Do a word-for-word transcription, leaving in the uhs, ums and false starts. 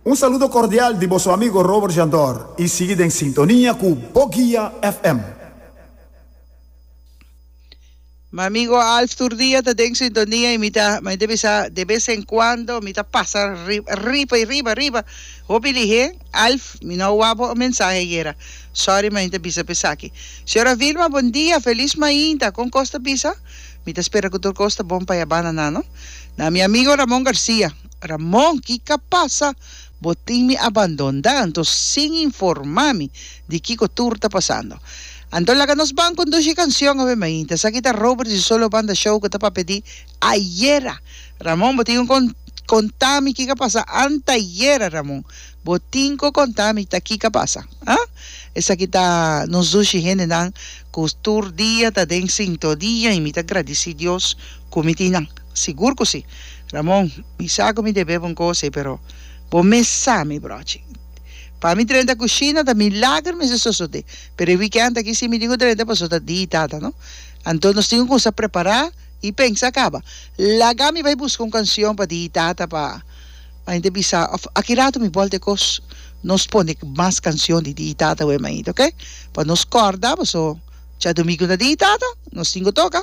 Un saludo cordial di boso amigo Robert Jandor y sigui den sintonia cu Boguia F M. Mi amigo Alf tur dia ta den sintonia y mi ta, mi ta bisa de bes en cuando mi ta pasa riba y riba riba hopi lihe. Alf, mi no wak bo mensahe ayera, sorry, ma mi ta bisa pesaki. Señora Vilma, bon dia, feliz mainta, con cos ta bisa? Mi ta spera cu tur cos ta bon pa ya banda nano. Na mi amigo Ramon Garcia. Ramon, kico a pasa? Bo tin mi abandona, anto sin informa mi di kico tur ta pasando. Anto laga nos ban cu dushi cancion awe mainta. Esaki ta Robert di Solo Banda Show cu ta papia di ayera. Ramon, bo tin cu conta mi kico a pasa antayera, Ramon. Bo tin cu conta mi ta kico a pasa. Ah? Esaki ta nos dushi hendenan cu tur dia ta den sintonia y mi ta gradici Dios cu mi tin nan. Sigur cu si. Ramon, mi sa cu mi debe un cos, pero bo mes sa mi, brochi. Pa mi drenta cushina ta milager mi se sosode. Pero e weekend aki si mi tin cu drenta paso ta di tata, no? Anto nos tin cu prepara y pensa caba. Laga mi bay busca un cancion pa di tata pa pa hende bisa of aki rato mi bolbe cos nos pone mas cancion di di tata we mainta, ok? Pa nos corda, paso djadumingo ta di tata, nos tin cu toca.